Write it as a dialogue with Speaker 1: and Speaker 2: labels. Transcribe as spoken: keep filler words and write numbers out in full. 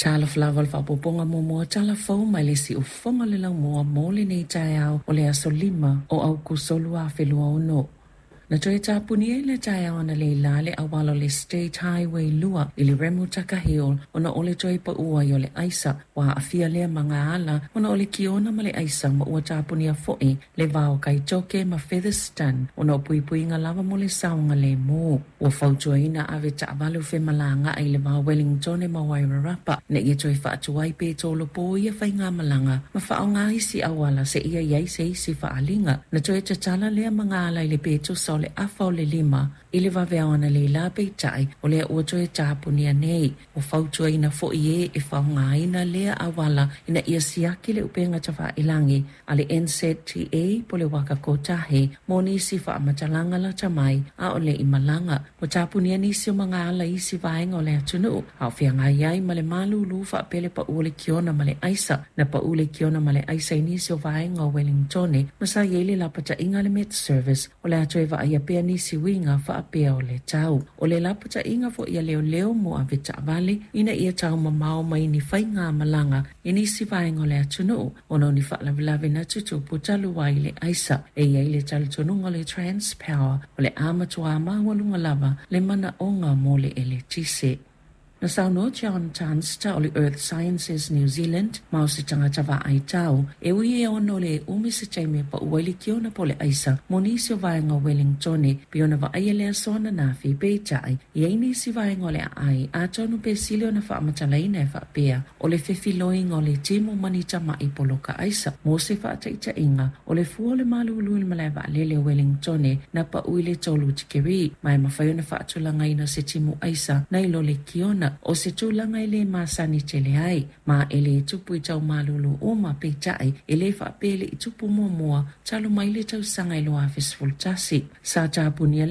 Speaker 1: Talofa lava i le faaopoopoga muamua o tala fou mai le siufofoga o le laumua mo lenei taeao o le aso lima o Aukuso lua afe lua ono. Na toe tapunia i le taeao analeila le auala o le State Highway two i le Remutaka Hill ona o le toe paua ai o le aisa. Ua aafia lea magaala ona o le kiona ma le aisa ma ua tapunia foi le va o Kaitoke ma Featherston ona o puipuiga lava mo le saogalemu. Ua fautuaina ave taavale o femalagaai i le va o Wellington ma Wairarapa ina ia toe faatuai pe tolopo ia faigamalaga ma faaaoga isi auala seia i ai se isi faaaliga. Na toe tatala lea magaala i le pe tusa o le afa o le lima i le vaveao analeila peitai o lea ua toe tapunia nei. Ua fautuaina foi e e faaaogaina lea auala ina ia siaki le upega tafailagi a le N Z T A po o le Waka Kotahi mo nisi faamatalaga lata mai a o le i malaga. Ua tapunia nisi o magaala i isi vaega o le atunuu a o feagai ai ma le malulu faapea le pau o le kiona ma le aisa. Na pau le kiona ma le aisa i nisi o vaega o Wellington ma sa i ai le lapataiga a le Met Service o le a toe vaaia pea nisi uiga faapea o le tau. O le lapataiga foi a leoleo mo ave taavale ina ia taumamao mai ni faigamalaga i nisi vaega o le atunuu ona o ni faalavelave na tutupu talu ai le aisa. E i ai le talitonuga o le Transpower o le a matua maualuga lava le manaoga mo le eletise. Na saunoa John Tunster o le Earth Sciences New Zealand ma o se tagata vaai tau e ui e ono le umi se taimi e pau ai le kiona po o le aisa mo nisi o vaega o Wellington pei ona vaaia le aso ananafi peitai i ai nisi vaega o le aai atonu pe sili ona faamatalaina e faapea o le fefiloiga o le timu ma ni tama'i poloka aisa. Mo se faataitaiga o le fua o le malulu i le malae vaalele o Wellington na pau i le tolu tikeri ma e mafai ona faatulagaina se timu aisa nai lo le kiona o se tulaga e lē masani tele ai ma e lē tupu i taumalulu uma peitai e lē faapea le i tupu muamua talu mai le tausaga i lua afe sefulu tasi. Sa tapunia le